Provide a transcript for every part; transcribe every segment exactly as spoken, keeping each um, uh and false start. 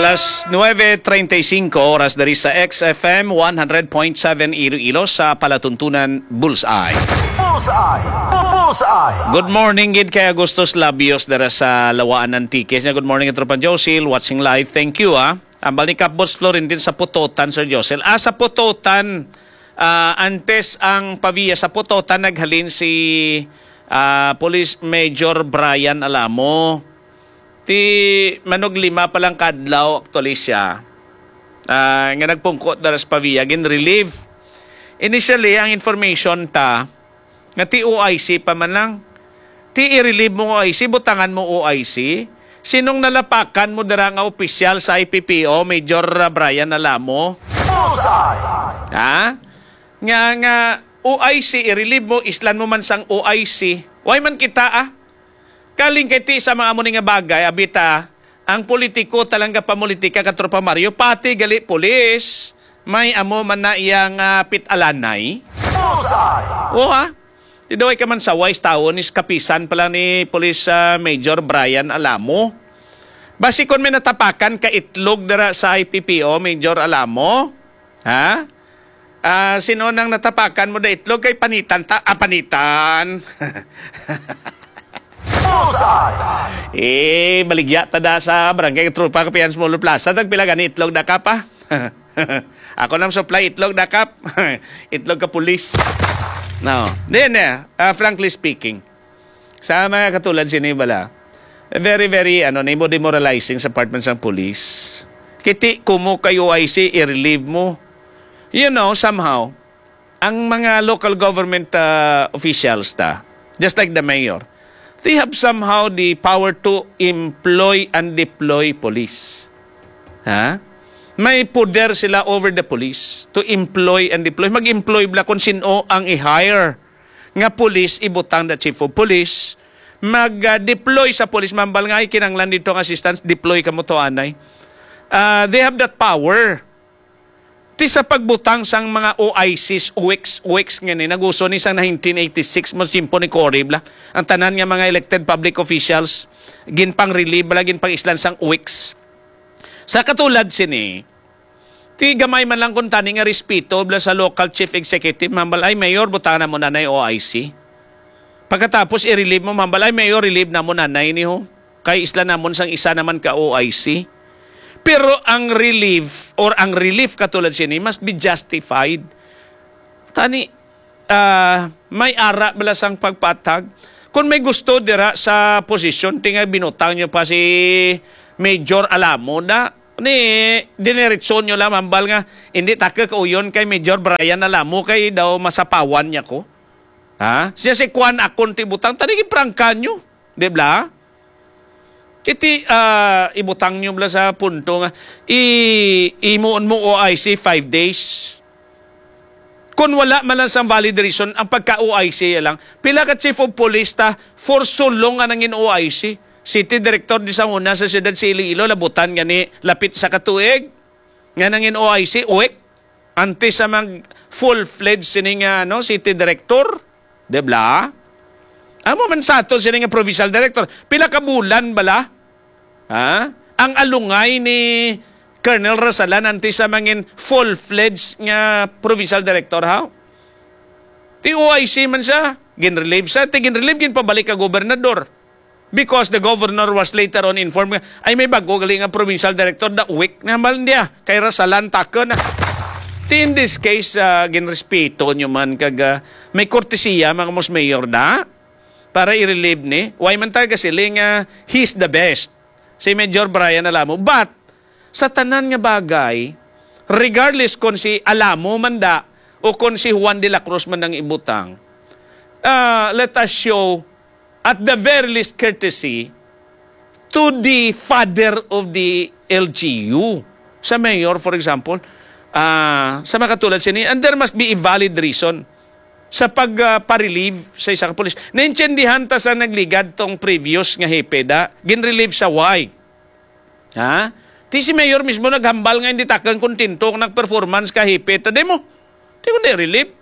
Alas nuebe treinta y cinco oras diri sa X F M one hundred point seven Iloilo sa palatuntunan Bullseye. Bullseye! Bullseye! Good morning gid kay Agustus Labios dira sa Lawaan, Antique. Nya, good morning, Tropa Josil, watching live. Thank you, ah. Ambal ni Kapboss Florentin sa Putotan, Sir Josel. Ah, sa Putotan, ah, antes ang Pavia, sa Putotan naghalin si ah, Police Major Brian Alamo. Ti manuglima pa lang kadlaw, actually, siya, ah, nga nagpungko dara sa Pavia, gin-relieve. Initially, ang information ta nga ti O I C pa man lang. Ti i-relieve mo O I C, butangan mo O I C. Sinong nalapakan mo dira nga opisyal sa I P P O, Major, ah, Brian Alamo? Bullseye! Ha? Nga, nga O I C, i-relieve mo, islan mo man sang O I C. Why man kita, ah? Kaling kay ti sa mga amo ni nga bagay, abita, ang politiko talang gapamulitika, Katropa Mario, pati gali pulis, may amo man na iyang, ah, pit-alanay. Bullseye! O, ha? Di daw ay ka man sa wise tawo ni kapisan pala ni Police, ah, Major Brian Alamo. Basi kon may natapakan ka itlog dira sa I P P O, Major Alamo, ha? Ah, sino nang natapakan mo da itlog kay panitan ta, ah, panitan. Bullseye! Eh, baligya ta da sa Barangay Tropa Kapihan Small Plaza, tagpila gani itlog da ka pa? Ako nang supply itlog da kap. Itlog ka pulis. No. Then, eh, ah, frankly speaking, sa mga katulad sini bala, very, very, ano, nimo demoralizing sa department sang police. Kiti kumo kay O I C, i-relieve mo. You know, somehow, ang mga local government, ah, officials ta, just like the mayor, they have somehow the power to employ and deploy police. Ha? May poder sila over the police to employ and deploy. Mag-employ bala kung sino ang i-hire nga police, ibutang the chief of police. Mag-deploy sa police, mambal nga ay kinanglan dito ang assistance, deploy kamo to anay. Ah, they have that power. Ti sa pagbutang sang mga O I Cs, uwiks, uwiks nga ni, naguso ni sang nineteen eighty-six, mas tiyempo ni Cory bala. Ang tanan nga mga elected public officials, ginpang-relieve bala, ginpang-islan sang uwiks. Sa katulad sini, ti gamay man lang kung tani nga respeto bala sa local chief executive, mambal, "Ay, Mayor, butangan mo na na O I C." Pagkatapos, i-relieve mo, mambal, "Ay, Mayor, relieve na mo na na ini, ho. Kay islan namon sang isa naman ka O I C." Pero ang relief or ang relief katulad sini must be justified. Tani, ah, may ara bala sang pagpatag. Kung may gusto dira sa posisyon, ti nga binutang nyo pa si Major Alamo na, ni, diniretso nyo lang, mambal nga, "Hindi ta ka kauyon kay Major Brian Alamo kay daw masapawan niya ko." Ha? Siya si Kwan akon ti butang, tani ginprangka nyo. Di bala? Iti, ah, ibutang nyo bala sa punto nga i-, imuon mo O I C five days. Kung wala man lang sang valid reason, ang pagka-O I C lang. Pila ka chief of police ta for so long nga nangin O I C? City director di sa una sa siyudad sa Iloilo, labutan gani lapit sa katuig. Nga nangin O I C, uwik. Antes sa mag full-fledged sini nga, ano, city director. Di bala? Amo man sa ato sini nga provincial director. Pila ka bulan bala? Ha? Ang alungay ni Colonel Rasalan antes sa mangin full-fledged nga provincial director, ha? Ti O I C man siya, ginrelieve siya, ti ginrelieve, ginpabalik ka gobernador. Because the governor was later on informed nga, "Ay, may bago gali nga provincial director, da weak na man niya, kay Rasalan takon na." Ti in this case, ah, ginrespeto nyo man kag, ah, may kortesiya, mga mas mayor na, para i-relieve ni. Why man tayo kasiling nga he's the best? Si Major Brian Alamo. But, sa tanan nga bagay, regardless kung si Alamo man da o kung si Juan de la Cruz man ang ibutang, ah, let us show at the very least courtesy to the father of the L G U. Sa mayor, for example, ah, sa makatulad sini, and there must be a valid reason sa pag, ah, pa-relieve sa isa ka pulis. Naintindihan ta sa nagligad tong previous nga hepe da, gin-relieve sa why? Ha? Ti si mayor mismo naghambal nga hindi takang kontento ang nag-performance ka hepe ta demo. Ti ko di-relieve.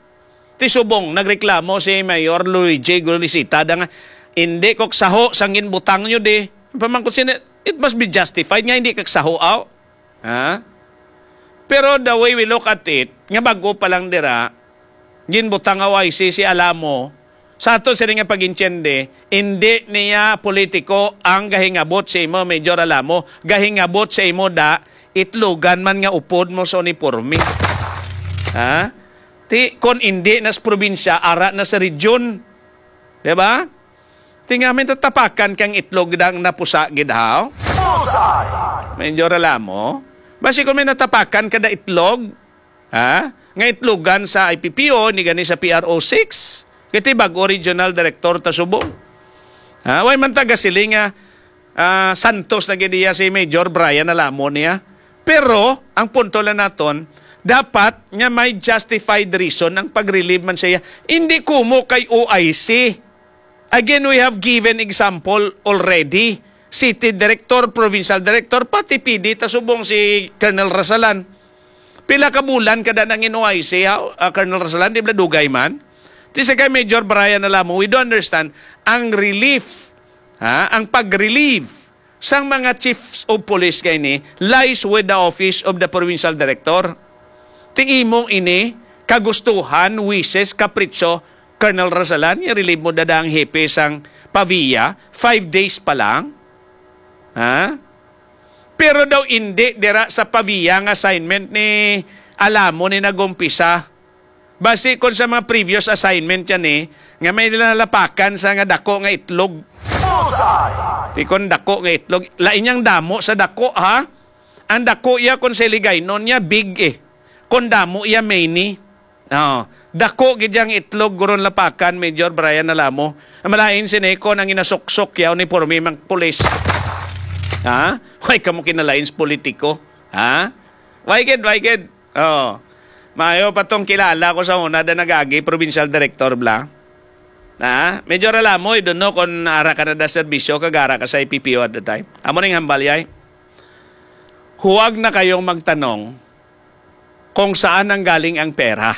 Ti subong, nagreklamo si Mayor Luigi Gulicita da nga, "Hindi ko kasaho sang ginbutang nyo di." Pamangkot sini, it must be justified nga hindi ka kasaho, aw. Ha? Pero the way we look at it, nga bag-o pa lang dira, ginbutang nga O I C si Alamo, sa ato sini nga pag-intiende, hindi niya politiko ang gahingabot sa imo, Major Alamo. Gahingabot sa imo da, itlogan man nga upod mo sa uniforme. Ha? Ti, kon hindi na sa probinsya, ara na sa region. Di ba? Ti nga may tatapakan kang itlog dang napusa gid, haw? Bullseye! Major Alamo. Basi kung may natapakan ka da itlog, ha? Nga itlogan sa I P P O, ni gani sa P R O six. Kiti bag-o regional director ta subong. Ha? Way man taga siling nga, ah, santos na gid iya si Major Brian Alamo niya. Pero, ang punto lang naton, dapat nga may justified reason ang pag-relieve man siya. Hindi kumo kay O I C. Again, we have given example already. City director, provincial director, pati P D, ta subong si Colonel Rasalan. Pila ka bulan kada nang in O I C, ha, ah, Colonel Rasalan, di ba dugay man? Ti sa kay Major Brian Alamo, we do understand ang relief, ha, ang pag-relieve sang mga chiefs of police kay ni lies with the office of the provincial director. Ti imo ini kagustuhan, wishes, kapritso, Colonel Rasalan, i-relieve mo dada ang hepe sang Pavia, five days pa lang. Ha? Pero daw indi dira sa Pavia nga assignment ni Alamo ni nagumpisa. Basi kon sa mga previous assignment yan eh, nga may nalapakan sa nga dako nga itlog. Bullseye! Ti kon dako nga itlog, lain yang damo sa dako, ha? Ang dako iya kon sa Hiligaynon niya, big eh. Kon damo iya, mini. Oh, dako gid yang itlog, guron lapakan, Major Brian Alamo. Ang malain si Nico nang inasuksok ya uniforme mang pulis. Ha? Way kamo kinalain sa politiko. Ha? Way gid, way gid. Oh. Maayo pa tong kilala ko sa una da nagagi provincial director bla. Na, Major Alamo, I don't know kung ara ka na da serbisyo kag ara ka sa I P P O at the time. Amo ning hambal yay. Huwag na kayong magtanong kung saan nanggaling ang pera.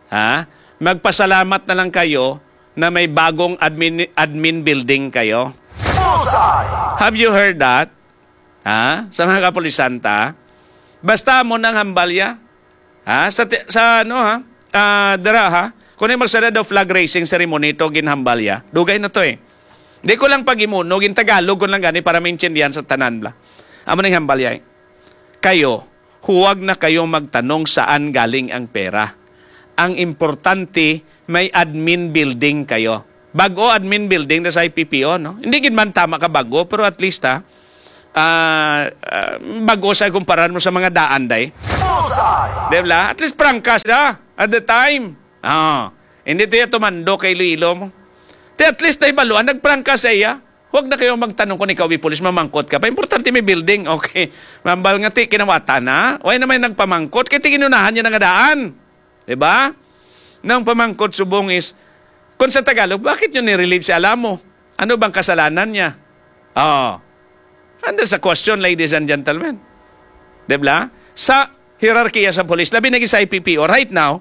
Ha? Magpasalamat na lang kayo na may bagong admin, admin building kayo. Bullseye! Have you heard that? Ha? Sa mga kapulisan ta? Basta mo nang hambalya. Ha? Sa, ti- sa ano ha? Ah, dira ha? Kung may magsada daw flag raising ceremony to ginhambalya. Dugay na to eh. Di ko lang pagimuno, gin Tagalog ko lang gani para maintindihan sa tanan bla. Amo ning hambalya eh. Kayo, huwag na kayong magtanong saan galing ang pera. Ang importante, may admin building kayo. Bago admin building na sa I P P O, no? Hindi gid man tama ka bago, pero at least, ha, ah, ah, bago sa kumparan mo sa mga daan, day. Bullseye! Di ba? At least prangka siya at the time. Ah, hindi to yung tumando kay Iloilo mo. Di at least nahibaluan, nagprangka sa iya. Huwag na kayo magtanong kung ikaw ay pulis, mamangkot ka pa. Importante may building. Okay. Mambal nga ti, kinawatan na. Way na may nagpamangkot, kay ti ginunahan niya na nga daan. Di ba? Nang pamangkot subong is, kung sa Tagalog, bakit nyo nirelieve si Alamo? Ano bang kasalanan niya? Oh. And that's a question, ladies and gentlemen. Di ba? Sa hierarkiya sa police, labi na gid sa I P P O right now,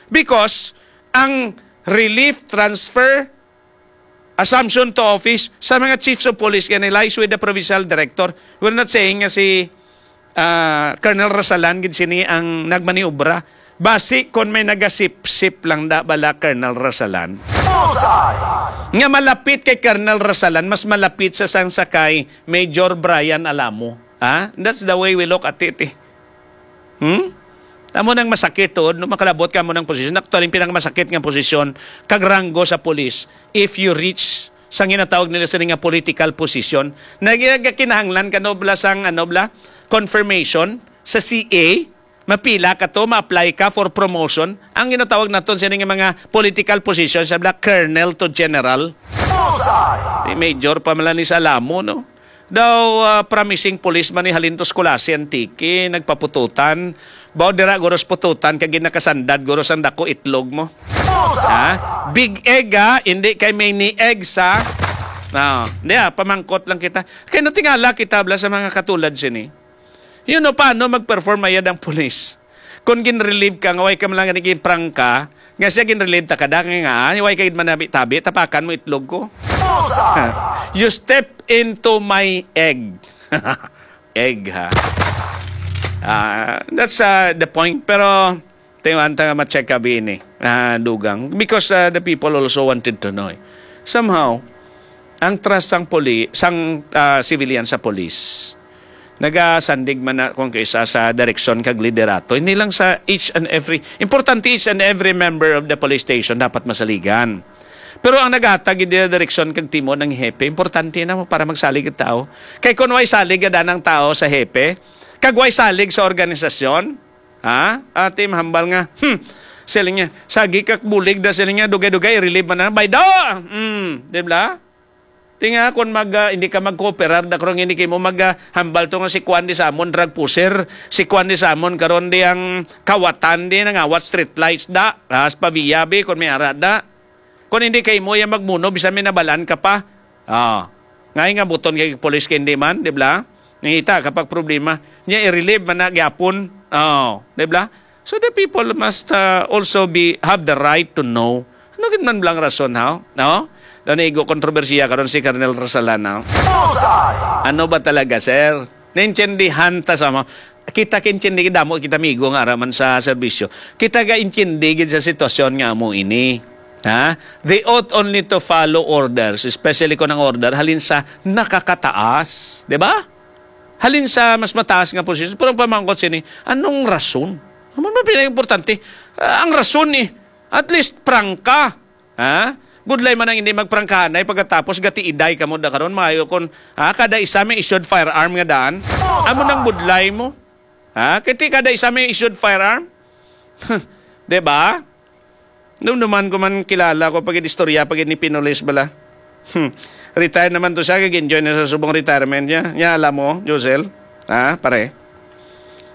because ang relief transfer assumption to office sa mga chiefs of police gani lies with the provincial director. We're not saying nga si, ah, Colonel Rasalan gid sini ang nagmaniobra. Basi kon may nagasipsip lang da bala Colonel Rasalan. Bullseye! Nga malapit kay Colonel Rasalan, mas malapit sa sang sa kay Major Brian Alamo. Ha? That's the way we look at it eh. Hmm? Amo nang masakit tuod, no, makalabot ka mo ng posisyon. Actually, ang pinakamasakit nga posisyon, kag ranggo sa pulis, if you reach sa ginatawag nila sini nga political position, na ginakinahanglan ka, no, bla, sang, ano, bla, confirmation sa C A, mapila ka to, ma-apply ka for promotion, ang ginatawag naton sini nga mga political position, sa bla, colonel to general. Bullseye! May major pa man lang ni sa Alamo, no? Daw, ah, promising policeman ni halin to Culasi, Antique, nagpapututan. Baw dira guros pututan kag ginakasandad guros ang dako itlog mo. Bullseye! Ha? Big egg ha, hindi kay mini eggs ha. No, hindi ha, pamangkot lang kita. Kay natingala kita bla sa mga katulad sini. You know, paano mag-perform ayad ang pulis? Kung gin-relieve ka, nga way ka man lang naging prangka, nga siya gin-relieve ta kada nga, nga, way ka gid manabi-tabi, tapakan mo itlog ko. Bullseye! You step into my egg. egg, ha. Ah, that's, ah, the point. Pero, tingnan ta nga ma-check ka bini, ah, dugang. Because, ah, the people also wanted to know, eh. Somehow, ang trust sang poli-, sang, ah, civilian sa police, nagasandig man na kung kaisa sa direksyon kag liderato. Hindi lang sa each and every, importante each and every member of the police station dapat masaligan. Pero ang naghatag gid direksyon kag timon ang hepe, importante na mo para magsalig ang tao. Kay kung way salig gid ang tao sa hepe, kag way salig sa organisasyon, ha? Ati mahambal nga, hmm, siling niya, sagi kag bulig da siling niya, dugay-dugay, i-relieve man na, baydo! Hmm, di ba? Di nga, kung mag, ah, hindi ka mag-cooperar, da karong hindi kay mo mag, ah, hambal to nga si Kwan di Samon, drug pusher, si Kwan di Samon, karon di ang kawatan di, nangawat street lights da, as paviya bi, kung may ara da. Kung hindi kay mo, yung magmuno, bisan may nabalaan ka pa. Ah, ngay nga buton kay police kay hindi man, di ba? Nangita ka pag problema. Niya, i-relieve man na gyapon. Oh, di ba? So the people must, uh, also be, have the right to know. Ano gid man blang rason, ha? No? Daw naigo kontrobersiya karon si Colonel Rasalan, ha? Bullseye! Ano ba talaga, sir? Naintindihan ta sa mga, kita kaintindi, damo kita migo nga ara man sa serbisyo. Kita gaintindi gid sa sitwasyon nga amo ini. Ha? They ought only to follow orders, especially kung ang order halin sa nakakataas, di ba? Halin sa mas mataas nga posisyon. Pero ang pamangkot sini, anong rason? Ano man pinaka-importante? Ah, ang rason eh. At least prangka. Ha? Budlay man ang hindi magprangkahanay pagkatapos gatiiday kamo da karon, maayo kon, ha, kada isa may issued firearm nga daan. Amo nang budlay mo. Ha? Kay ti kada isa may issued firearm. Di ba? Dumduman ko man, kilala ko pag istorya pag ni Pinolis bala. Hmm. Retire naman to siya, kag enjoy na sa subong retirement niya. Nya alam mo, Josel, ha, pare?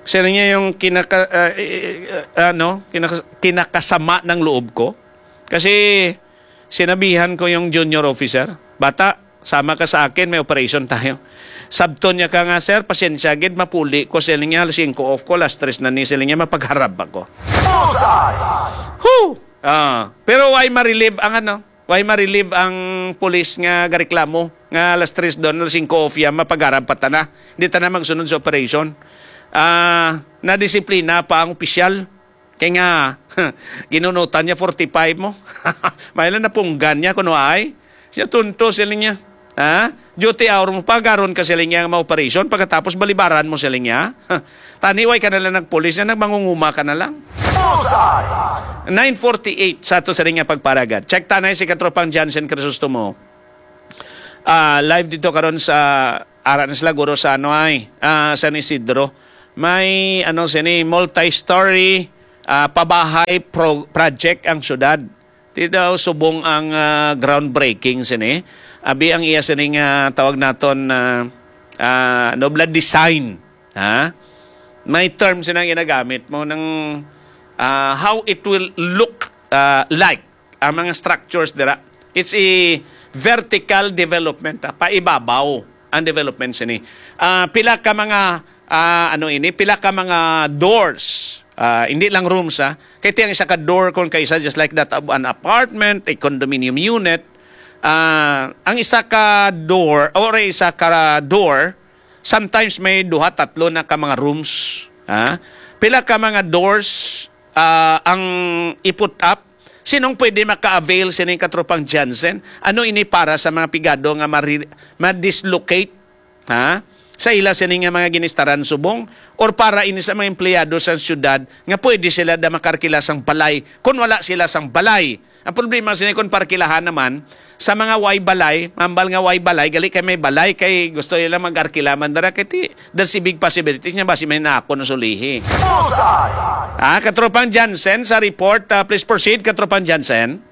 Sila niya yung kinaka, ah, eh, eh, ano, kinaka, kinakasama ng loob ko. Kasi sinabihan ko yung junior officer, "Bata, sama ka sa akin, may operation tayo." Sabton niya ka nga, "Sir, pasensya gid, mapuli ko," siling niya, "alas singko off ko, alas tres na ni," siling niya, "mapagharap ako." Bullseye! Whew! Ah, pero why ma-relieve ang ano? Why ma-relieve ang pulis nga gareklamo nga alas tres doon, alas singko off ya, mapagharap pa ta na? Hindi ta na magsunod sa operation. Ah, nadisiplina pa ang opisyal. Kay nga, ginunutan niya forty-five mo. May lang napunggan niya kuno ay. Siya tunto, siling niya. Ha? Duty hour mo pa, garon ka, siling niya, nga ma-operation. Pagkatapos, balibaran mo, siling niya. Tani, way ka na lang nagpulis niya, nagmangunguma ka na lang. Bullseye! Nine forty-eight sa ato sa ring nga pagparagad. Check tanay si Katropang Jansen Crisostomo. Ah, live dito karon sa, ara na sila, guro, sa ano ay, ah, San Isidro. May, ano, sini, multi-story, ah, pabahay pro-, project ang syudad. Ti daw subong ang, ah, groundbreaking sini. Abi ang iya sini nga tawag naton, ah, ah, nobla design, ha? May term sini nga ginagamit mo ng, ah, how it will look, ah, like ang mga structures dira. It's a vertical development, ah, paibabaw ang development sini. Ah, pila ka mga, ah, ano ini, pila ka mga doors, ah, hindi lang rooms, ah. Kay ti ang isa ka door kon kaisa, just like that of an apartment, a condominium unit. Ah, ang isa ka door or isa ka door, sometimes may duha, tatlo na ka mga rooms, ha? Pila ka mga doors, ah, ang i-put up? Sinong pwede maka-avail sining Katropang Jansen? Ano ini para sa mga pigado nga mari-, ma-dislocate, ha, sa ila sini nga mga ginistaran subong, or para ini sa mga empleyado sa siyudad nga pwede sila da makarkila sang balay? Kung wala sila sang balay, ang problema sini kung parkilahan naman sa mga way balay, mambal nga way balay, gali kay may balay, kay gusto nila mag-arkila man dara, kay ti, there's a big possibility nga basi may nako na sulihi. Bullseye! Ah, Katropang Jansen sa report. Ah, please proceed, Katropang Jansen.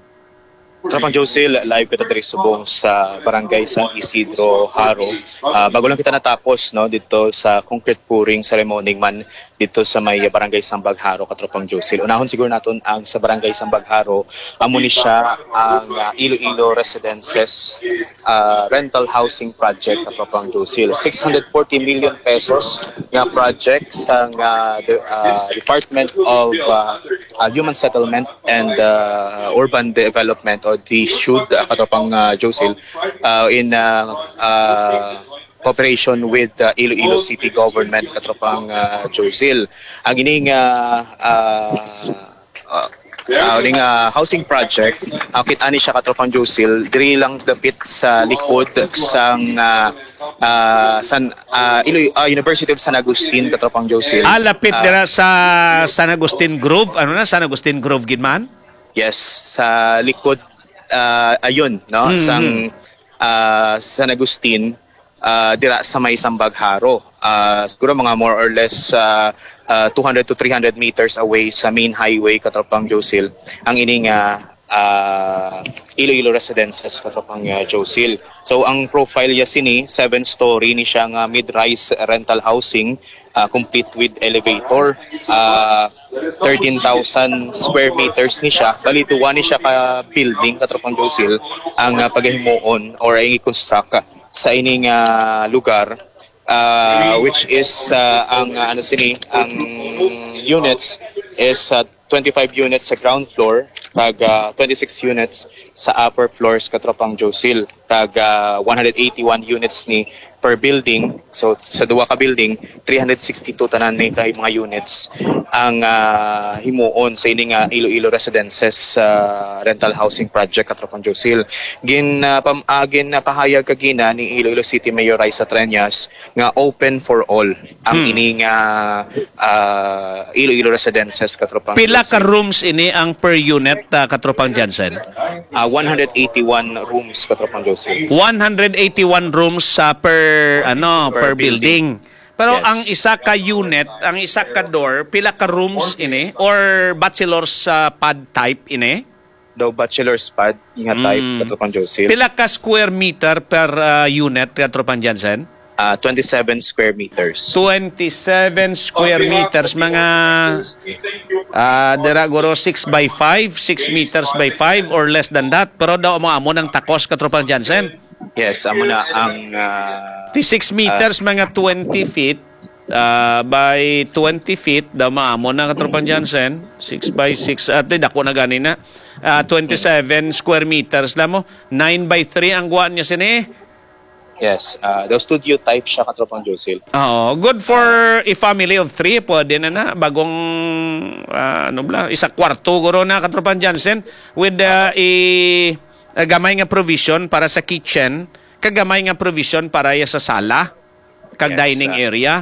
Tropang Josil, live kita diri subong sa Barangay San Isidro, Jaro. Ah, bago lang kita natapos, no, dito sa concrete pouring ceremony man dito sa may Barangay Sambag, Jaro, Katropang Josil. Unahon siguro naton ang sa Barangay Sambag, Jaro. Amo ni siya ang, ah, Iloilo Residences, ah, Rental Housing Project, Katropang Josil. Six hundred forty million pesos nga project sa, ah, de-, ah, Department of, ah, ah, Human Settlement and, ah, Urban Development, o the shud, ah, Katropang, ah, Josil, ah, in, ah, ah, cooperation with the Iloilo City Government, katropang, ah, Josil. Ang ining, ah, ah, ah, ah, ining, ah, housing project, ah, kita ni siya, katropang Josil, diri lang dapit sa likod sang, ah, ah, San, ah, Iloy-, ah, University of San Agustin, katropang Josil. Ah, lapit Ah, dira sa San Agustin Grove. Ano na, San Agustin Grove gid man? Yes, sa likod, ah, ayun, no, Mm, sang, mm. ah, San Agustin, ah, dira sa may Sambag Jaro. Ah, siguro mga more or less, ah, ah, two hundred to three hundred meters away sa main highway, katropang Josil, ang ining, ah, ah, Iloilo Residences, katropang, ah, Josil. So, ang profile niya sini, seven-story ni siya nga mid-rise rental housing, ah, complete with elevator. Ah, thirteen thousand square meters ni siya. Bali, duwa ni siya ka building, katropang Josil, ang, ah, pagahimuon or ang i-construct sa ining, ah, lugar, ah, which is, ah, ang, ah, ano sini, ang units is, ah, twenty-five units sa ground floor, kag, ah, twenty-six units sa upper floors, katropang Josil, kag, ah, one hundred eighty-one units ni per building. So, sa duwa ka building, three hundred sixty-two tanan ni kay mga units ang, ah, himuon sa ini nga Iloilo Residences sa rental housing project, katropang Josil. Gin, ah, pam-, ah, ginapahayag kagina ni Iloilo City Mayor Raisa Treñas nga open for all ang Hmm. ini nga, ah, Iloilo Residences, katropang Pila ka Josil. Rooms ini ang per unit, ah, katropang Jansen? Ah, one hundred eighty-one rooms, katropang Josil. One hundred eighty-one rooms sa per, ano, Per per building. building. Pero Yes. ang isa ka unit, ang isa ka door, pila ka rooms ini? Or bachelor's, ah, pad type ini? Daw bachelor's pad nga type, Mm. katropang Josil. Pila ka square meter per, ah, unit, katropang Jansen? Ah, twenty-seven square meters. Twenty-seven square meters, mga, ah, dira guro six by five, six meters by five or less than that. Pero daw amo-amo nang takos, katropang Jansen. Yes, amo na ang, ah, Ti six meters, ah, mga twenty feet, ah, by twenty feet, daw maamo na, katropang Jansen. Six by six, at di, dako na gani na. Ah, twenty-seven square meters lang mo. Nine by three ang guwan niya sini. Yes, ah, daw studio type siya, katropang Josil. Oo, good for a family of three. Pwede na na. Bagong, ah, ano bala, isa kwarto guro na, katropang Jansen. With, ah, i, ah, gamay nga provision para sa kitchen, kag gamay nga provision para ya sa sala, kag Yes, dining ah, area.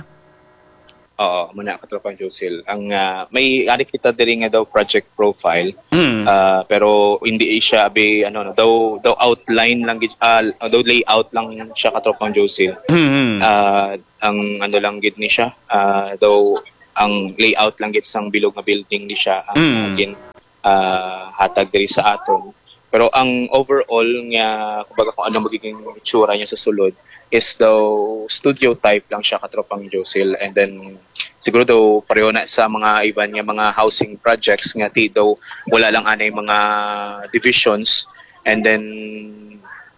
Oo, muna, katropang Josil. Ang, ah, may ari kita diri nga daw project profile. Mm. Ah, pero hindi siya abi, ano, no, daw, daw outline lang gid, ah, daw layout lang siya, katropang Josil. Mm. Ah, ang ano lang gid ni siya, ah, daw ang layout lang gid sang bilog nga building ni siya ang, Mm. ah, gin-, ah, hatag diri sa aton. Pero ang overall nga, kumbaga, kung ano magiging itsura niya sa sulod is daw studio type lang siya, katropang Josil. And then, siguro daw pareho na sa mga iban nga mga housing projects nga ti daw wala lang anay mga divisions. And then,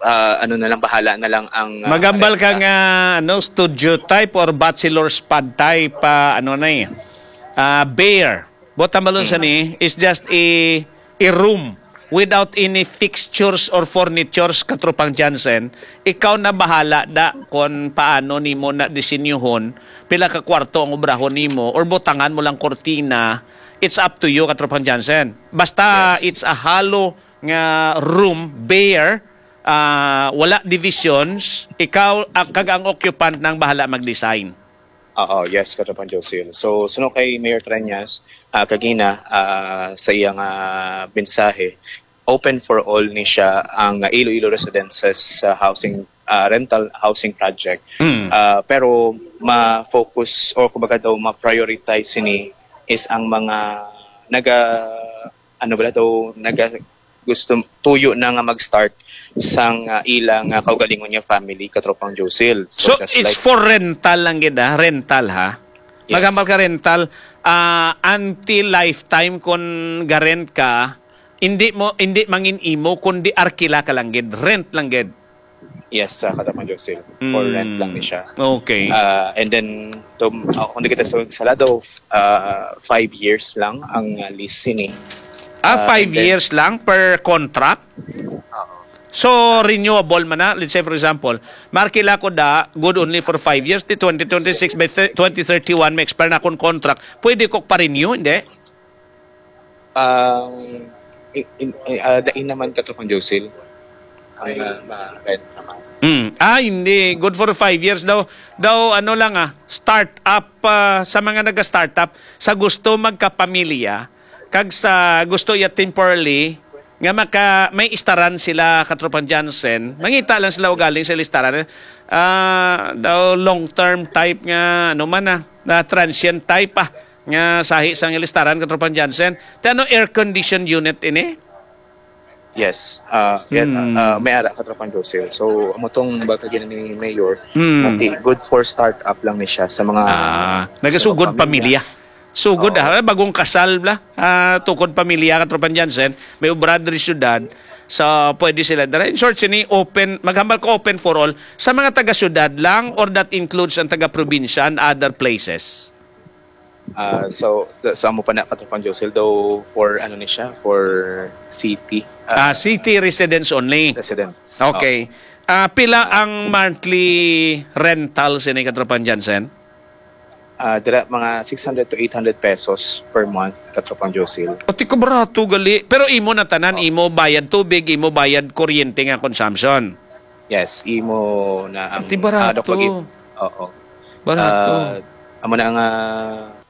ah, ano na lang, bahala na lang ang, ah, Magambal ka renta. Nga, ano, studio type or bachelor's pad type, ah, ano na eh, ah, bare. Buot tambalon sa Hmm. ni is just a, a room without any fixtures or furnitures, katropang Jansen. Ikaw na bahala da kon paano nimo na disenyuhon, pila ka kwarto ang obrahon nimo, or butangan mo lang kortina. It's up to you, katropang Jansen. Basta Yes. it's a hollow nga room, bare, ah, wala divisions, ikaw, ah, kag ang occupant nang bahala mag-design. Oo, yes, katropang Josil. So, suno kay Mayor Treñas, ah, kagina, ah, sa iyang, ah, mensahe, open for all ni siya ang Iloilo Residences, ah, housing, ah, rental housing project. Mm. Ah, pero ma-focus or kumbaga daw ma-prioritize sini is ang mga naga, ano bala daw, naga, gusto, tuyo na nga mag-start sang, ah, ila nga kaugalingon nga family, katropang Josil. So, So, just it's like for rental lang gid, ah, rental, ha? Yes. Maghambal ka rental, ah, until lifetime, kun ga-rent ka, hindi mo, hindi mangin imo, kundi arkila ka lang gid, rent lang gid. Yes, sa katropang Josil. For Mm. rent lang ni siya. Okay. Ah, and then, tum-, ah, kung di kita sa, sa lado, ah, five years lang ang, ah, lease sini. Ah, Ah, five and then years lang per contract? Oo. So, renewable man na. Let's say, for example, markila ko da, good only for five years, ti twenty twenty-six, by thir- twenty thirty-one, may expire na akong contract. Pwede ko pa-renew, hindi? Ang in, in, ah, dain naman, Katropang Josil. Ang ah, ma-rent naman. Hmm. Ah, hindi. Good for five years daw. Daw, ano lang ah, start-up ah, sa mga naga-startup, sa gusto magkapamilya, kag sa gusto ya temporarily, nga maka, may istaran sila, Katropang Jansen, mangita lang sila ugaling sa listaran. Ah, daw long-term type nga, ano man ah, na transient type ah, nga sahi sang listaran, Katropang Jansen. Ti ano, air conditioned unit ini? Yes. Ah, yan, Hmm. ah, may ara, Katropang Josil. So, amo tong baga gina ni Mayor, Hmm. okay, good for startup lang ni siya sa mga Ah, nagasugod sa pamilya. Sugod Oo. ah, bagong kasal bla. Ah, tukod pamilya, Katropang Jansen, may obra diri syudad. So, pwede sila dira. In short, sini open, maghambal ko open for all. Sa mga taga-syudad lang or that includes ang taga-probinsya and other places? Ah, so, sa amo pa na, Katropang Josil, daw for ano ni siya, for city Ah, ah, city residents only. residents. Okay. Ah, pila ang monthly rental sini, Katropang Jansen? Ah, dira mga six hundred to eight hundred pesos per month, Katropang Josil. O, ti kabarato gali. Pero imo na tanan, imo bayad tubig, imo bayad kuryente nga consumption. Yes, imo na ang Ti barato. ah, dok-, pag-, oo. Barato. Ah, amo na nga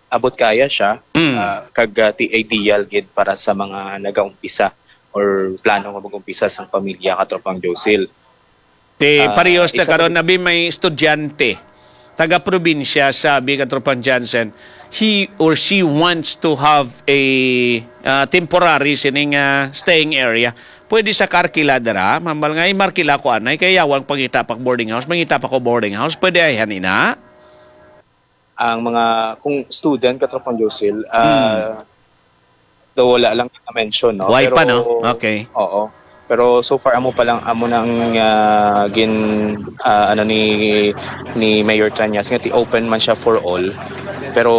abot kaya siya. Mm. Ah, kag ah, ti ideal gid para sa mga nagaumpisa or plano nga mag-umpisa sang pamilya, Katropang Josil. Ti Ah, parehas na isa karon pa- na bi may estudyante, taga-probinsya, sabi, Katropang Jansen, he or she wants to have a ah, temporary sining ah, staying area. Pwede sa karkila dira, mambal nga, "Ay, markila ko anay, kay yawang pangita pa boarding house, mangita pa ko boarding house." Pwede ay hanina? Ang mga, kung student, Katropang Josil, ah, daw wala lang na-mention, no? Why Pero, pa, no? Okay. Oo. Pero so far, amo pa lang, amo nang ah, gin, ah, ano ni ni Mayor Trañas, nga ti open man siya for all. Pero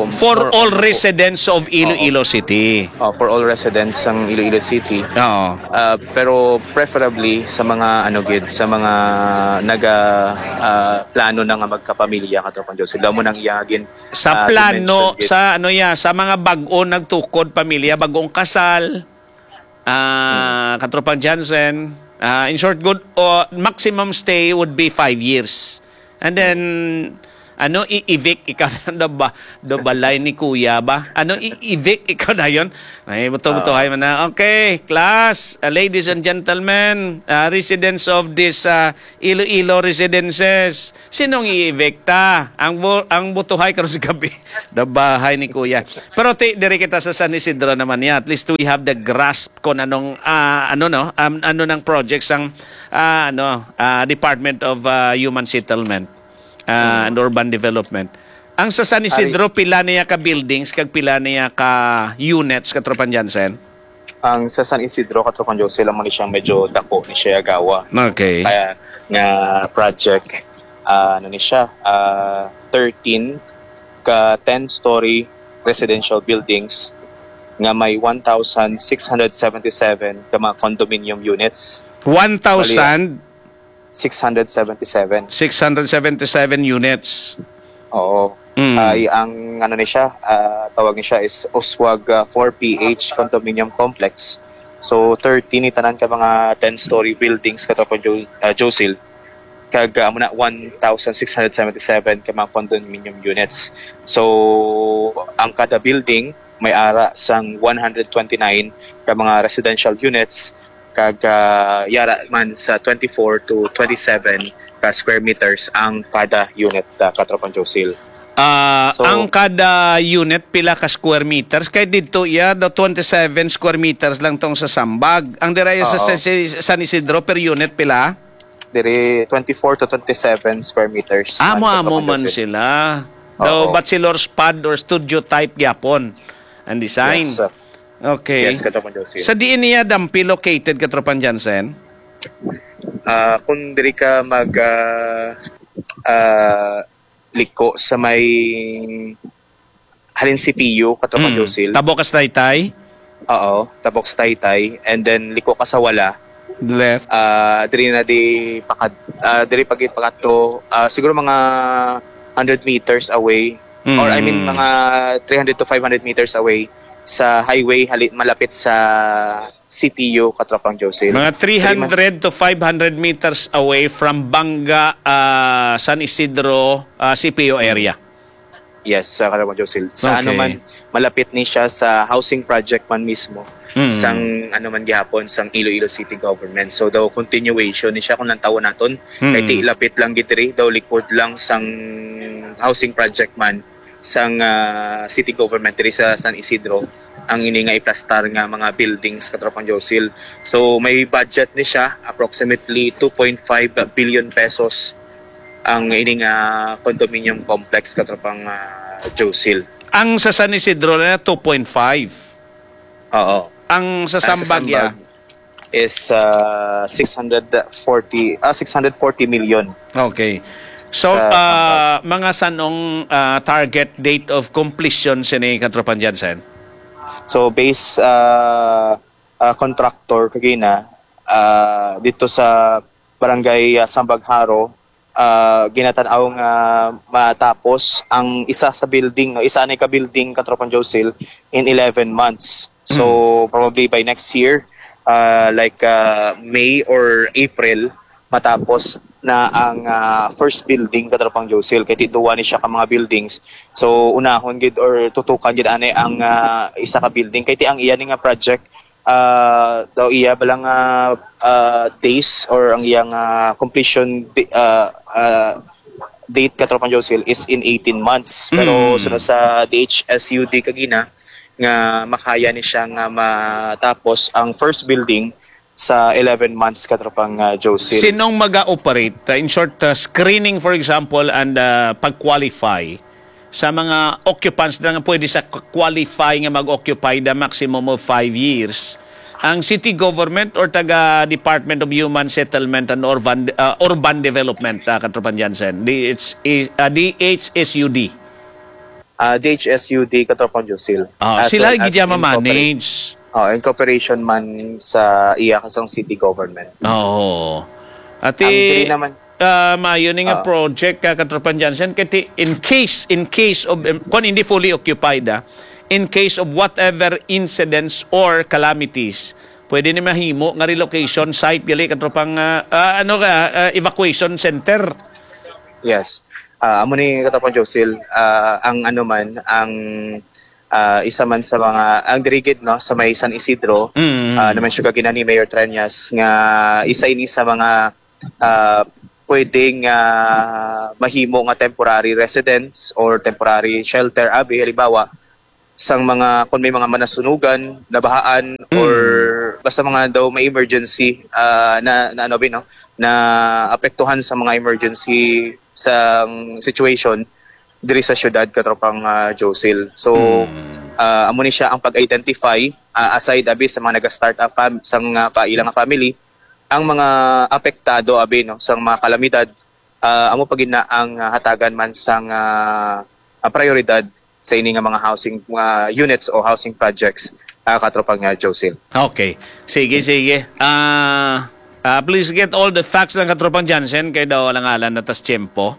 For more all on- residents of Iloilo City. Oh, for all residents sang Iloilo City. Oo. Ah, pero preferably sa mga ano gid, sa mga naga ah, plano na nga magkapamilya, Katropang Josil. Damo nang iya gin Sa ah, plano, dimension gid. Sa ano ya, sa mga bag-o nagtukod pamilya, bag-ong kasal, ah, Katropang Jansen, ah, in short, good, o, maximum stay would be five years. And then, ano, i-evict ikaw na ba, do balay ni kuya ba? Ano, i-evict ikaw na yon? Ay, buto-buto, Ah. Hay man na. Okay, class, uh, ladies and gentlemen, uh, residents of this uh, Iloilo residences, sinong i-evicta? Ang bu- ang butuhay karon sa gabi, daw bahay ni kuya. Pero ti, diri kita sa San Isidro naman niya. At least we have the grasp kung anong, ah, ano, no, um, ano nang projects ang ah, ano, ah, Department of ah, Human Settlement ah, and Urban Development. Ang sa San Isidro, pila niya ka buildings kag pila niya ka units, Katropang Jansen? Ang sa San Isidro, Katropang Josil, amo ni siyang medyo dako ni siya gawa. Okay. Kaya nga project, ah, ano ni siya, ah, thirteen ka ten-story residential buildings nga may one thousand six hundred seventy-seven ka mga condominium units. One thousand Six hundred seventy-seven. six hundred seventy-seven units. Oo. Mm. Ay, ang ano ni siya, ah, tawag ni siya is Oswag ah, four P H Condominium Complex. So, thirteen ni tanan ka mga ten-story buildings, Katropang Jo- ah, Josil. Kag ah, amo na one thousand six hundred seventy-seven ka mga condominium units. So, ang kada building may ara sang one hundred twenty-nine ka mga residential units, kag ah, yara man sa twenty-four to twenty-seven ka square meters ang kada unit, ah, Katropang Josil. Ah, So, ang kada unit pila ka square meters? Kay dito iya do twenty-seven square meters lang tong sa Sambag. Ang dira iya sa, Oo. sa, sa San Isidro per unit pila? Diri twenty-four to twenty-seven square meters. Amo ang amo man Katropang Josil. Sila. Daw Oo. bachelor's pad or studio type gyapon ang design. Yes, sir. Okay. Yes, Katropang Josil. Sa diin niya dampi located, Katropang Jansen? Ah, kung diri ka mag ah, ah, liko sa may halin C P U, Katropang Mm. Josil. Tabok ka sa Taytay? Oo, tabok sa Taytay. And then liko ka sa wala. Left. Ah, diri na di pakad, ah, diri pag ipakadto, ah, siguro mga hundred meters away, or I mean, Mm. mga three hundred to five hundred meters away sa highway, hali-, malapit sa C P U, Katropang Josil. Mga Diri man three hundred to five hundred meters away from Banga, ah, San Isidro, ah, C P U area. Yes, sa Kalamang Josil. Sa ano Okay. man, malapit ni siya sa housing project man mismo, Mm. sang ano man gihapon, sang Iloilo City Government. So, daw continuation ni siya kung lantawon naton. Kay Mm. ti lapit lang gid diri, daw likod lang sang housing project man sang, ah, city government diri sa San Isidro ang ini nga iplastar nga mga buildings, Katropang Josil. So, may budget ni siya, approximately two point five billion pesos ang ini nga condominium complex, Katropang, ah, Josil. Ang sa San Isidro na two point five. Oo. Ang sa Ang sa Sambag, ya? Sambag is, ah, six hundred forty, ah, six hundred forty million. Okay. So, Sa ah, Sambag. mga sanong, ah, target date of completion sini, Katropang Jansen? So, base, ah, ah, contractor kagina, ah, dito sa Barangay, ah, Sambag Jaro, ah, ginatan-aw nga matapos ang isa sa building, no, isa anay ka building, Katropang Josil, in eleven months. So, Mm. probably by next year, ah, like, ah, May or April, matapos na ang, ah, first building, Katropang Josil, kay ti duwa ni siya ka mga buildings. So, unahon gid or tutukan gid ani ang, ah, isa ka building, kay ti ang iya ni nga project, ah, daw iya bala nga, ah, days or ang iyang, ah, completion di-, ah, ah, date, Katropang Josil, is in eighteen months. Pero Mm. sunod sa D H S U D kagina nga makaya ni siya nga matapos ang first building sa eleven months, Katropang, ah, Josil. Sinong maga-operate? Uh, in short, uh, screening, for example, and, uh, pag-qualify sa mga occupants na nga pwede sa qualify nga mag-occupy the maximum of five years, ang city government or taga Department of Human Settlement and Urban, uh, Urban Development, uh, Katropang Jansen? D H, uh, D H S U D. Ah, D H S U D, Katropang Josil. Ah, As sila well gid as ya in cooperation. ma-manage. Oh, in cooperation man sa iya kasang city government. Oo. Ati, Ang diri naman ah, maayo ni nga Oo. project, ka, Katropang Jansen, kay ti-, in case, in case of, em, kung hindi fully occupied, ah, in case of whatever incidents or calamities, pwede ni mahimo nga relocation site, gali, Katropang, ah, ah, ano ka, ah, evacuation center. Yes. Ah, amo ni, Katropang Josil, ah, ang ano man, ang, ah, isa man sa mga, ang dirigid, no, sa may San Isidro, Mm. ah, naman siya ginani Mayor Treñas nga isa ini sa mga, ah, pwedeng, ah, mahimo nga temporary residence or temporary shelter, abi, halimbawa, sang mga, kung may mga manasunugan, nabahaan, Mm. or basta mga daw may emergency, ah, na, na ano, bi, no? Na apektuhan sa mga emergency sa situation diri sa syudad, Katropang, ah, Josil. So, Mm. ah, amo ni siya ang pag-identify, ah, aside, abi, sa mga naga-start up fam-, sa mga paila nga family, ang mga apektado, abi, no, sa mga kalamidad, ah, amo pa gid na ang, ah, hatagan man sang, ah, ah, prioridad sa ini nga mga housing, mga units o housing projects, ah, Katropang, ah, Josil. Okay. Sige, sige. Ah, ah, please get all the facts lang, Katropang Jansen, kay daw alang-alang na tas tiyempo.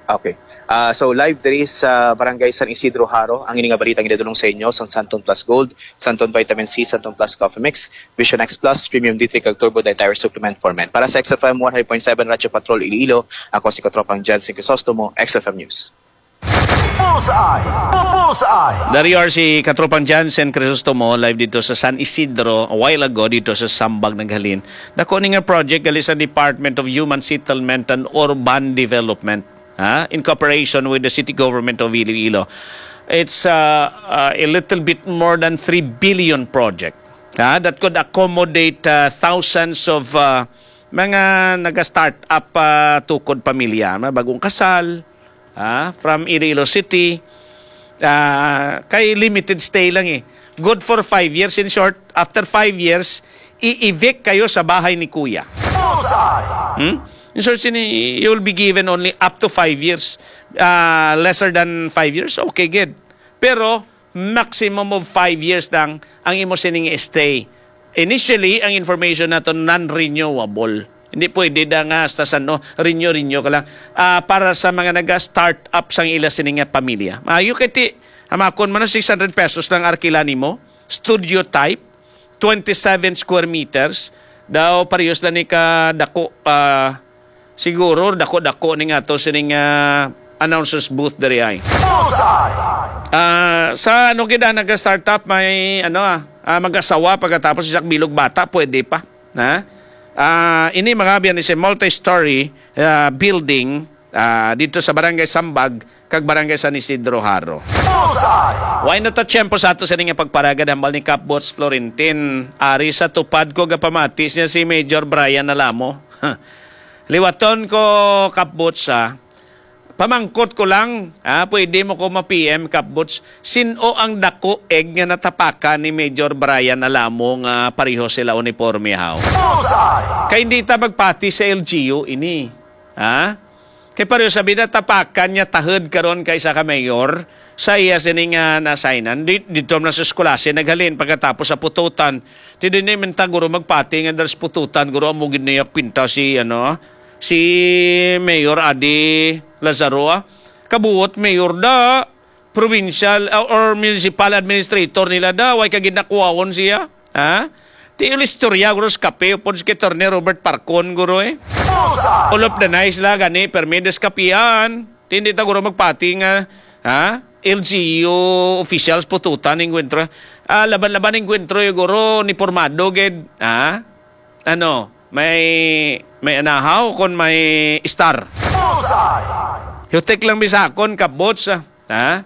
Okay. Ah, so, live diri sa Barangay San Isidro Jaro, ang ini nga balita ginadulong sa inyo sang Santon Plus Gold, Santon Vitamin C, Santon Plus Coffee Mix, Vision X Plus, Premium D three kag Turbo Dietary Supplement for Men. Para sa X F M one hundred point seven Radyo Patrol Iloilo, ako si Katropang Jansen Crisostomo, X F M News. Bullseye! Bu-, Bullseye! Dari R C Katropang Jansen Crisostomo, live dito sa San Isidro, a while ago, dito sa Sambag naghalin. Dako ni nga project gali sa Department of Human Settlement and Urban Development, ha, in cooperation with the City Government of Iloilo. It's, uh, uh, a little bit more than three billion project, ha, that could accommodate, uh, thousands of, uh, mga naga-start up, uh, tukod pamilya, mga bagong kasal, ah, from Iloilo City, ah, kay limited stay lang eh. Good for five years. In short, after five years, i-evict kayo sa bahay ni Kuya. Bullseye! Hmm? In short, sini, you will be given only up to five years. Ah, lesser than five years, okay, good. Pero, maximum of five years lang ang imo sining stay. Initially, ang information nato non-renewable. Hindi pwede da nga hasta san, no, renew, renew ka lang. Ah, para sa mga naga-start up sang ila sini nga pamilya. Maayo kay ti, hamakon man na six hundred pesos lang arkila nimo. Studio type, twenty-seven square meters. Daw parehas lang ni ka dako, ah, siguro dako-dako ni nga to sining, ah, announcer's booth diri ay. Bullseye! Ah, sa ano gid, ah, naga-startup may ano, ah, ah, mag-asawa pagkatapos isa bilog bata, pwede pa. Ha? Ah, ini mga biyan is a multi-story, ah, building, ah, dito sa Barangay Sambag kag Barangay San Isidro Jaro. Bullseye! Why not a tiyempo sa ato sa nga pagparagad hambal ni Kap Boots Florentin? Ari sa tupad ko gapamati siya si Major Brian Alamo. Liwaton ko, Kap Boots, ah. Pamangkot ko lang, ah, pwede mo ko ma-P M, Kap Boots. Sin-o ang dako eg nga natapakan ni Major Brian Alamo nga pareho sila uniforme, haw? Bullseye! Kay hindi ta magpati sa L G U ini. Ha? Kay pareho sabi na tapakan niya tahod karon kay isa ka mayor sa iya sini nga na-assignan. Di, dito na sa eskwelahan naghalin pagkatapos sa pututan. Ti di ni man ta guro magpati nga dras pututan guro amo gid niya pinta si ano, si Mayor Adi Lazaro, ah. Kabuot mayor da, provincial, ah, or municipal administrator nila da, way ka gid nakuwawon siya. Ha? Ti istorya guro sa kape upod si Attorney Robert Parcon guro, eh. Bullseye! All of the nice la gani, permi des kapian. Ti hindi ta guro magpati nga, ha? L G U officials pututan enkwentro. Ah, laban-laban enkwentro, eh, guro ni pormado gid, ha? Ano, may, may anahaw kon may star. Bullseye! Hutik lang bisakon, Kap Boots, ah. Ha?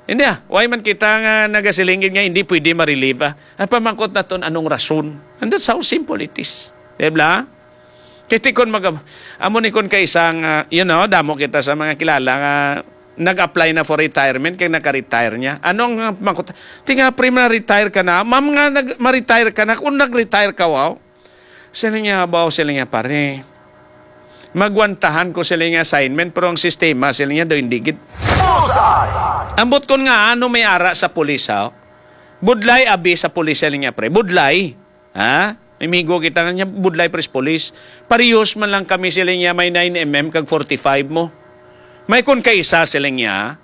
Hindi, ah. Why man kita nga nagasiling gid nga hindi pwede ma-relieve, ah? Ang pamangkot naton, anong rason? And that's how simple it is. Di ba? Kiti kon mag-, amo ni kon kaisa nga, you know, damo kita sa mga kilala nga nag-apply na for retirement kay naka-retire niya. Anong pamangkot? Tinga, pre, ma-retire ka na. Ma'am nga, nag-, ma-retire ka na. Kung nag-retire ka, wow. Sila niya, baw, sila niya, pare. Magwantahan ko sila nga assignment, pero ang sistema, sila niya, do hindi gid. Bullseye! Ambot kon nga ano may ara sa pulis, ha? Budlay abi sa pulis, sila niya, pre. Budlay. Ha? Amigo kita nga niya, budlay, pres, pulis. Parehas man lang kami, sila niya, may nine M M kag forty-five mo. May kon kaisa, sila niya,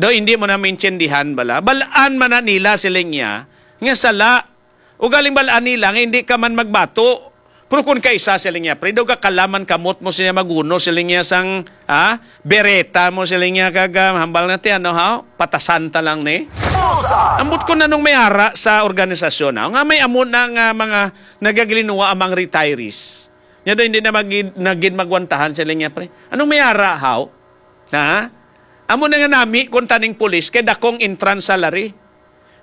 do hindi mo na maintindihan bala. Balaan man na nila, sila niya, nga sala. Ugaling bal-an nila nga hindi ka man magbato. Pero kung kaisa sila niya, pre, daw gakalaman kamot mo sila maguno sila niya sang, ha? Bereta mo sila niya kag, ah, hambal na ti, ano, ha? Patasan ta lang ni. Bullseye! Ambot ko nanong may ara sa organisasyon, ha? Nga may amo na nga mga nagagilinuwa amang retirees. Nya daw hindi na magid, nagid magwantahan sila niya, pre. Anong may ara, haw? Ha? Amo na nga nami kung taning pulis kay dakong entrance salary.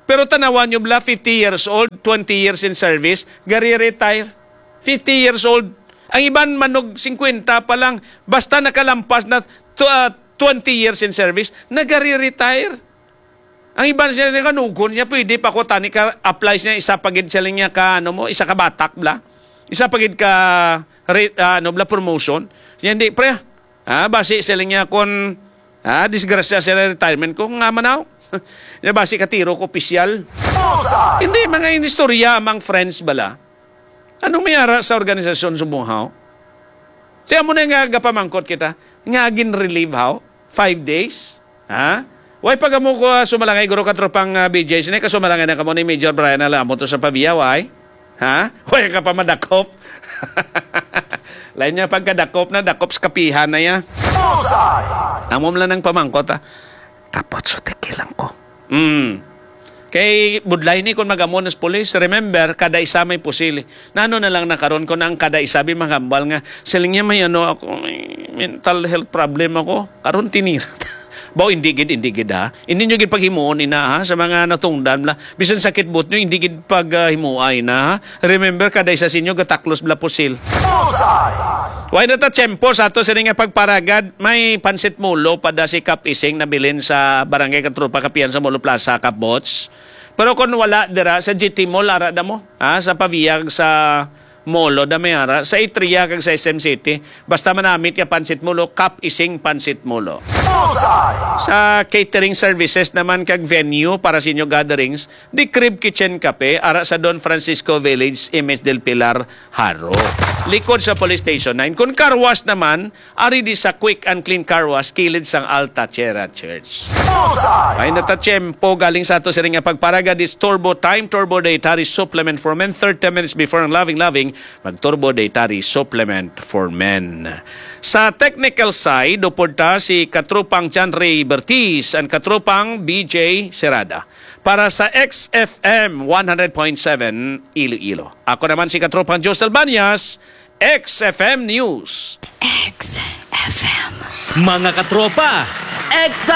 Pero tanawan nyo bala, fifty years old, twenty years in service, gari-retire. Fifty years old. Ang iban manog singkwenta pa lang, basta nakalampas na tw-, ah, twenty years in service, nagari-retire. Ang iban siya nga nugon niya, pwede pa ko tani ka apply siya isa pa gid siya niya ka, ano mo, isa ka batak bla. Isa pa gid ka re-, ah, ano bla, promotion. Siya hindi, pre. Ah, basi sila niya kon, ah, disgrasya sila retirement ko nga manaw. Ya basi katiro ko opisyal. Bullseye! Hindi, mga inistorya amang friends bala. Anong may ara sa organisasyon subong haw? Siya mo na nga gapamangkot kita, nga gin-relieve haw? Five days? Ha? Way pag amo ko, ah, sumalangay, guro, katropang, ah, B J, sini ka sumalangay na kamo ni Major Brian Alamo to sa Pavia, way? Ha? Way ka pa madakop? Lain niya pagkadakop na, dakop sa kapihan na ya. Bullseye! Amo lang nang pamangkot, ah. Kapot sutik lang ko. Mm. Kay budlay ni kon magamon sa pulis. Remember, kada isa may pusil. Nano na lang na karon kon ang kada isa bi magambal nga, "Siling niya may ano ako, may mental health problem ako." Karon tinira. Baw, hindi gid, hindi gid, ha. Hindi nyo gid paghimuon ina, ha, sa mga natungdan la. Bisan sakit buot nyo, hindi gid paghimuay na, ha. Remember, kada isa sa inyo gataklos bala pusil. Bullseye! Way na ta tiyempo sa ato sini nga pagparagad. May pansit mulo pa da si Kap Ising nabilin sa Barangay Katropa Kapihan sa Molo Plaza, Kap Bots. Pero kung wala dira, sa G T Mall, ara da mo. Ha? Sa Pavia kag sa Molo da may ara. Sa Atria kag sa S M City. Basta manamit ka pansit mulo, Kap Ising pansit mulo. Sa catering services naman kag venue para sa inyo gatherings, The Crib Kitchen Cafe, ara sa Don Francisco Village, Image del Pilar, Jaro. Likod sa Police Station nine. Kung car wash naman, ari di sa Quick and Clean Car Wash, kilid sang Alta Sierra Church. Ay, natatiyempo galing sa ato sini nga pagparaga, this Turbo Time, Turbo Dietary Supplement for Men, thirty minutes before ang Loving Loving, mag-Turbo Dietary Supplement for Men. Sa technical side, upod ta si Katropang John Ray Bertiz and Katropang B J Serada para sa X F M one hundred point seven Iloilo. Ako naman si Katropang Josel Banyas, X F M News. X F M. Mga katropa, X